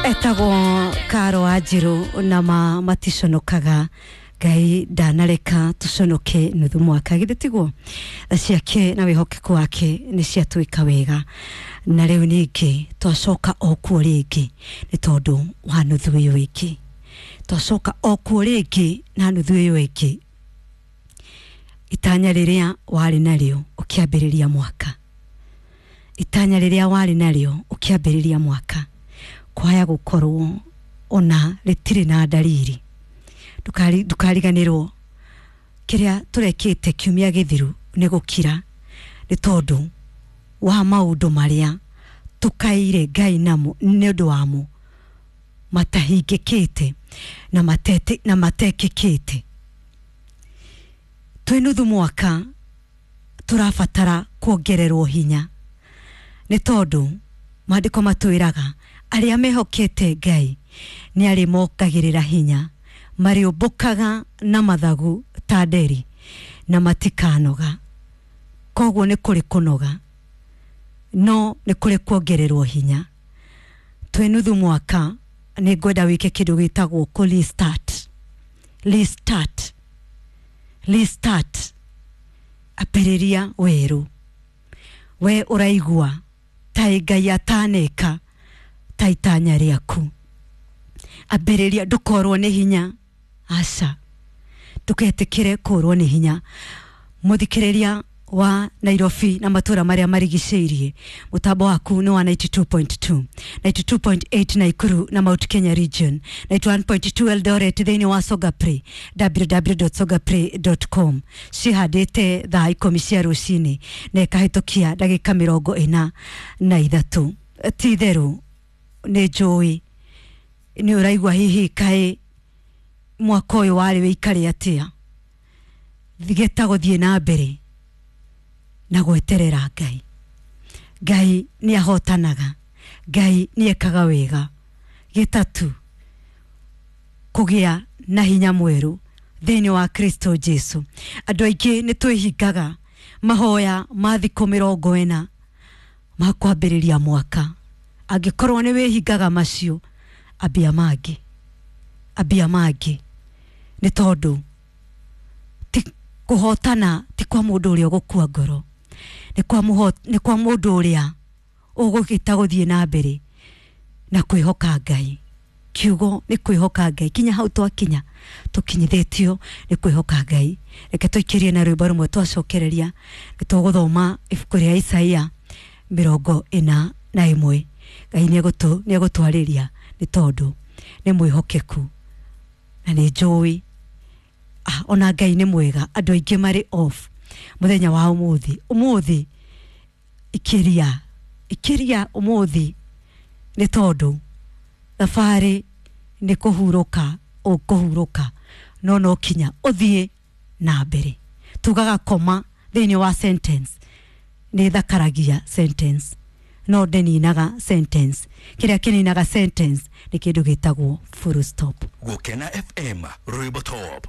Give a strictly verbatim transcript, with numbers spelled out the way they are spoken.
Etagwo Karo Wanjiru na ma maticonokaga. Ngai ndanareka tuconoke nuthu mwaka, githĩ tiguo? Tha ciake na wĩhokeku wake nĩ ciatwĩka wega, na rĩu ningĩ twacoka o kuo rĩngĩ nĩ tondũ wa nuthu ĩyo ĩngĩ. Twacoka o kuo rĩngĩ na nuthu ĩyo ĩngĩ. Itanya rĩrĩa warĩ narĩo ũkĩambĩrĩria mwaka, itanya rĩrĩa warĩ narĩo ũkĩambĩrĩria mwaka, kwaya gũkorwo ona rĩtirĩ na ndariri. Ndũkari- ndũkariganĩrwo kĩrĩa tũrekĩte kiumia gĩthiru nĩ gũkira, nĩ tondũ wa maũndũ marĩa tũkaire Ngai namo nĩ ũndũ wamo matahingĩkĩte na matete na matekĩkĩte. Twĩ nuthu mwaka tũrabatara kuongererwo hinya, nĩ tondũ maandĩko matwĩraga arĩa mehokete Ngai nĩ arĩmongagĩrĩra hinya, marĩũmbũkaga na mathagu ta nderi na matikanoga. Koguo nĩ kũrĩ kũnoga, no nĩ kũrĩ kuongererwo hinya. Twĩ nuthu mwaka nĩ ngwenda wĩke kĩndũ gĩtagwo kũ restart, restart, restart. Ambĩrĩria werũ. We ũraigua ta Ngai ataneka ta itanya rĩaku, ambĩrĩria. Ndũkorwo nĩ hinya, aca, ndũgetĩkĩre kũrwo nĩ hinya. Mũthikĩrĩria wa Nairobi na matũra marĩa marigicĩirie, mũtambo waku nĩ wa ninety-two point two, ninety-two point eight Naikuru na Mount Kenya region, ninety-one point two Eldoret, thĩinĩ wa Songaplay, w w w dot songaplay dot com. Cihandĩte thaa ikũmi cia rũcinĩ na ĩkahĩtũkia ndagĩka mĩrongo ĩna na ithatũ. Ti itherũ nĩ njũĩ nĩ ũraigua hihi kaĩ mwaka ũyũ warĩ wĩikare atĩa. Gĩta gũthiĩ na mbere na gweterera Ngai. Ngai nĩ ahotanaga, Ngai nĩ ekaga wega. Gĩtatu kũgĩa na hinya mwerũ thĩinĩ wa Kristo Jesu. Andũ aingĩ nĩ twĩhingaga mahoya ma thikũ mĩrongo ĩna ma kwambĩrĩria mwaka. Angĩkorwo nĩ wĩhingaga macio, ambia mangĩ, ambia mangĩ, nĩ tondũ ti kũhotana ti kwa mũndũ ũrĩa ũgũkua ngoro, nĩ kwa mũho- nĩ kwa mũndũ ũrĩa ũgũgĩta gũthiĩ na mbere na kwĩhoka Ngai. Kiugo nĩ kwĩhoka Ngai. Kinya hau twakinya tũkinyithĩtio nĩ kwĩhoka Ngai. Reke tũikĩrie na rwĩmbo rũmwe, twacokereria nĩ tũgũthoma ibuku rĩa Isaia mĩrongo ĩna na ĩmwe. Ngai nĩ egũtwarĩria nĩ tondũ nĩ mwĩhokeku na nĩ njũĩ. Ah, ona Ngai nĩ mwega. Andũ aingĩ marĩ off mũthenya wa ũmũthĩ. Ũmũthĩ ikĩria, ikĩria ũmũthĩ, nĩ tondũ thabarĩ nĩ kũhurũka ũkũhurũka, no no kinya ũthiĩ na mbere. Tugaga koma thĩinĩ wa sentence nĩ thakaragia sentence, no ndĩninaga sentence. Kĩrĩa kĩninaga sentence nĩ kĩndũ gĩtagwo full stop. Gukena F M, Rwimbo Top.